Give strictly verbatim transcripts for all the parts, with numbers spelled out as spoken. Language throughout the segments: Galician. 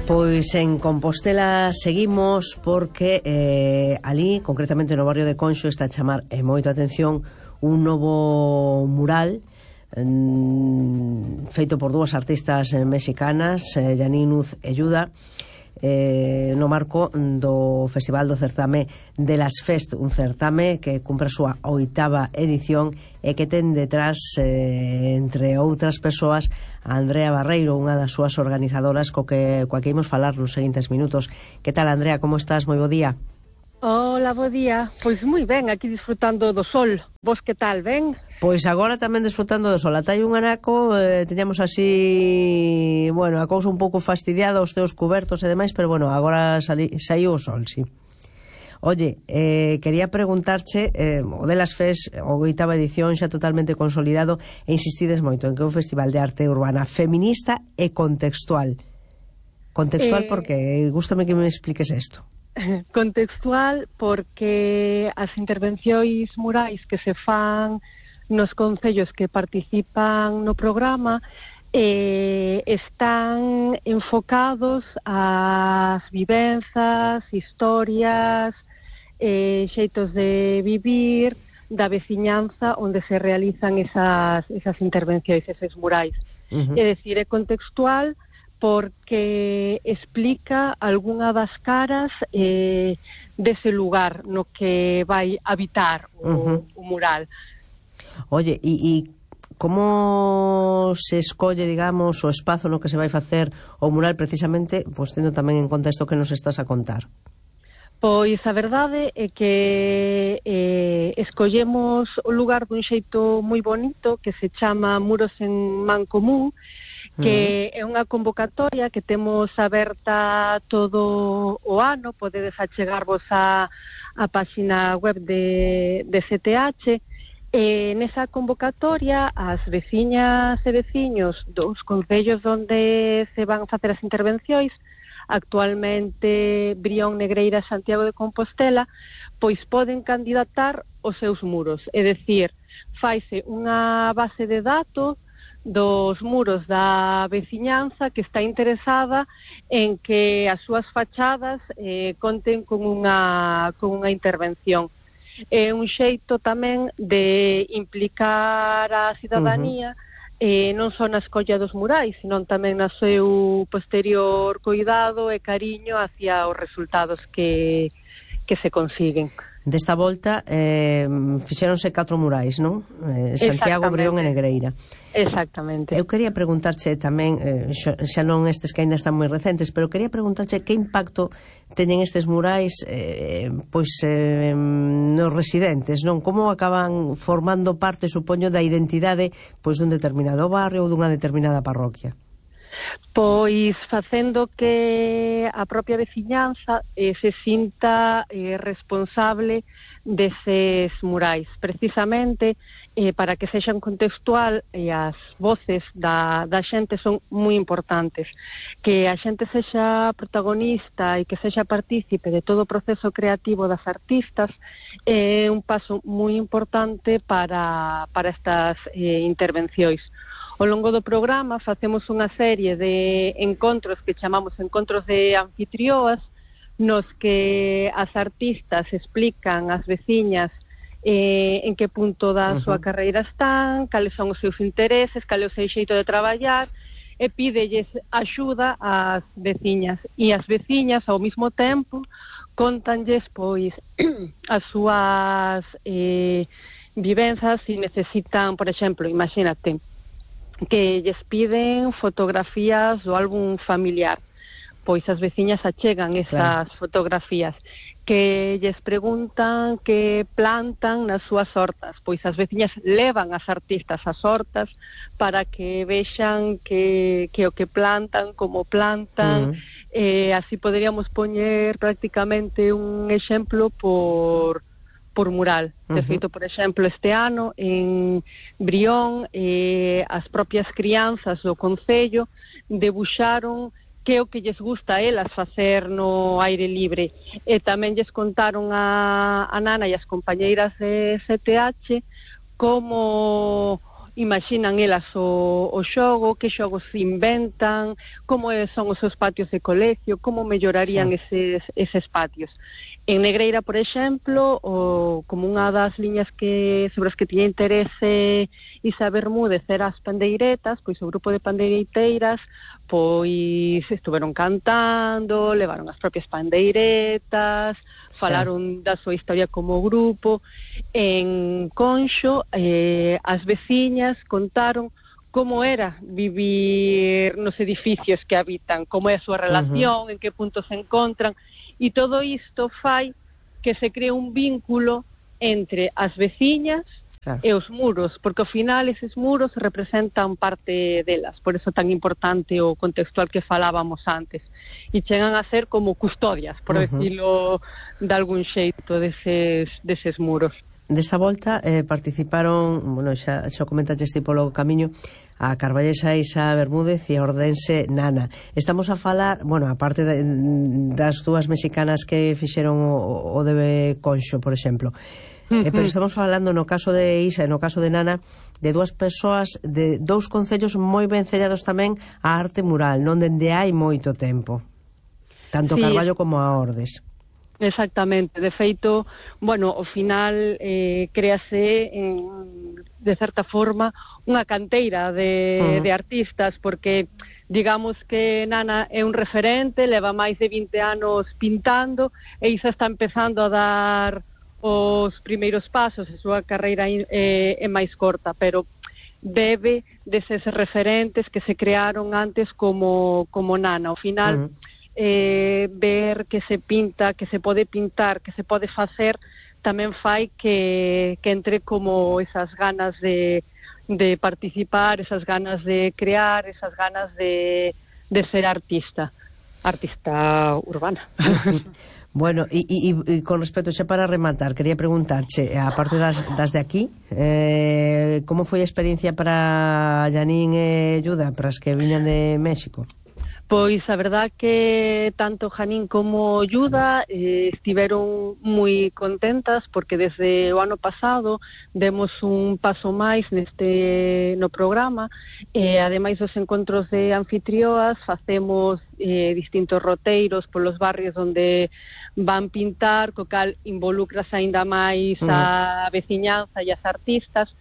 Pois en Compostela seguimos porque eh, ali, concretamente no barrio de Conxo, está a chamar eh, moito a atención un novo mural mm, feito por dúas artistas eh, mexicanas, eh, Yaninuz e Yuda, eh, no marco do Festival do Certame de las Fest, un certame que cumpre a súa oitava edición e que ten detrás, eh, entre outras persoas, a Andrea Barreiro, unha das súas organizadoras co que, coa que imos falar nos seguintes minutos. Que tal, Andrea, como estás? Moi bo día. Hola, bo día. Pois moi ben, aquí disfrutando do sol. Vos que tal, ben? Pois agora tamén disfrutando do sol. Ata hai un anaco, eh, teñamos así, bueno, a cousa un pouco fastidiada, os teus cubertos e demais, pero bueno, agora sali, saiu o sol, sí. Oye, eh, quería preguntarche, eh, o Delas Fest, o oitava edición xa totalmente consolidado, e insistides moito en que é un festival de arte urbana feminista e contextual. Contextual eh... porque gústame que me expliques isto. Contextual porque as intervencións murais que se fan nos concellos que participan no programa eh, están enfocados ás vivenzas, historias, eh, xeitos de vivir da veciñanza onde se realizan esas, esas intervencións, eses murais. Uh-huh. É dicir, é contextual porque explica algunha das caras eh, dese lugar no que vai habitar o, uh-huh. o mural. Oye, e, e como se escolle, digamos, o espazo no que se vai facer o mural precisamente, pois tendo tamén en conta isto que nos estás a contar? Pois a verdade é que eh, escollemos o lugar dun xeito moi bonito que se chama Muros en Mancomún, que é unha convocatoria que temos aberta todo o ano. Podedes achegarvos a, a página web de, de C T H. E nesa convocatoria as veciñas e veciños dos concellos onde se van a facer as intervencións, actualmente Brión, Negreira, Santiago de Compostela, pois poden candidatar os seus muros. É dicir, faise unha base de datos dos muros da veciñanza que está interesada en que as súas fachadas eh, conten con unha, con unha intervención. É un xeito tamén de implicar a cidadanía uh-huh. eh, non só na escolla dos murais, sino tamén na seu posterior cuidado e cariño hacia os resultados que, que se consiguen. Desta volta eh, fixéronse catro murais, non? Eh, Santiago, Brión e Negreira. Exactamente. Eu quería preguntarche tamén, eh, xa, xa non estes que ainda están moi recentes, pero quería preguntarche que impacto teñen estes murais eh, pois eh, nos residentes, non? Como acaban formando parte, supoño, da identidade pois dun determinado barrio ou dunha determinada parroquia? Pois facendo que a propia veciñanza eh, se sinta eh, responsable deses murais, precisamente eh, para que sexan contextual, e as voces da, da xente son moi importantes. Que a xente sexa protagonista e que sexa partícipe de todo o proceso creativo das artistas é eh, un paso moi importante para, para estas eh, intervencións. Ao longo do programa facemos unha serie de encontros que chamamos encontros de anfitrioas, nos que as artistas explican ás veciñas eh, en que punto da uh-huh. súa carreira están, cales son os seus intereses, cal é o seu xeito de traballar, e pídelles axuda ás veciñas. E as veciñas, ao mesmo tempo, contanlles, pois, as súas eh, vivenzas, se necesitan, por exemplo, imagínate, que lles piden fotografías do álbum familiar, pois as veciñas achegan esas claro. fotografías. Que lles preguntan que plantan nas súas hortas, pois as veciñas levan as artistas ás hortas para que vexan que, que o que plantan, como plantan, uh-huh. eh, así poderíamos poñer prácticamente un exemplo por... por mural. De feito, por exemplo, este ano en Brión eh, as propias crianzas do concello debuxaron que é o que lles gusta a elas facer no aire libre, e tamén lles contaron a, a Nana e as compañeiras de C T H como imaginan elas o, o xogo, que xogos se inventan, como son os seus patios de colegio, como mellorarían sí. eses, eses patios. En Negreira, por exemplo, o, como unha das liñas que sobre as que tiña interese Isa Bermúdez era as pandeiretas, pois o grupo de pandeireteiras pois estuveron cantando, levaron as propias pandeiretas, falaron sí. da súa historia como grupo. En Conxo, eh, as veciñas contaron como era vivir nos edificios que habitan, como é a súa relación, uh-huh. en que punto se encontran, e todo isto fai que se cree un vínculo entre as veciñas claro. e os muros, porque ao final eses muros representan parte delas, por eso tan importante o contextual que falábamos antes, e chegan a ser como custodias, por uh-huh. decirlo de algún xeito, deses, deses muros. Desta volta eh, participaron, bueno, xa, xa comentaste este polo camiño, a carballesa Isa Bermúdez e a ordense Nana. Estamos a falar, bueno, aparte de, das dúas mexicanas que fixeron o, o de Conxo, por exemplo, uh-huh. eh, pero estamos falando no caso de Isa e no caso de Nana de dúas persoas de dous concellos moi ben cellados tamén á arte mural, non dende hai moito tempo, tanto sí. Carballo como a Ordes. Exactamente, de feito, bueno, ao final eh, créase en, de certa forma unha canteira de, uh-huh. de artistas, porque digamos que Nana é un referente, leva máis de vinte anos pintando e Isa está empezando a dar os primeiros pasos, a súa carreira é, é máis corta, pero bebe deses referentes que se crearon antes como, como Nana. Ao final... Uh-huh. Eh, ver que se pinta, que se pode pintar, que se pode facer, tamén fai que, que entre como esas ganas de, de participar, esas ganas de crear, esas ganas de, de ser artista, artista urbana. Bueno, e, e, e con respecto, xa para rematar, quería preguntarche, aparte das, das de aquí, eh, como foi a experiencia para Janine e Yuda, para as que viñan de México? Pois a verdad que tanto Janine como Yuda eh, estiveron moi contentas porque desde o ano pasado demos un paso máis neste no programa e eh, ademais dos encontros de anfitrioas facemos eh, distintos roteiros polos barrios onde van pintar, co cal involucras aínda máis a veciñanza e as artistas.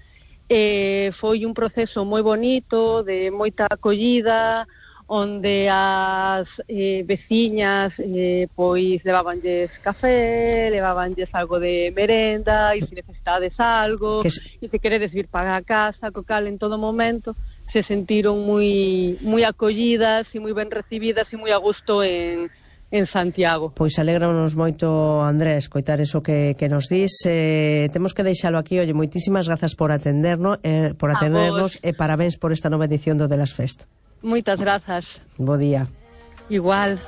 Eh, foi un proceso moi bonito, de moita acollida, onde as eh, veciñas eh, pois levabanlles café, levabanlles algo de merenda, e se necesitades algo, que... e se queredes vir para a casa, co cal en todo momento se sentiron moi moi acollidas e moi ben recibidas e moi a gusto en en Santiago. Pois alégranos moito, Andrés, coitar eso que, que nos dis. Eh, temos que deixalo aquí. Oye, moitísimas grazas por atendernos, eh, por atendernos e parabéns por esta nova edición do De Las Fest. Moitas grazas. Bo día. Igual.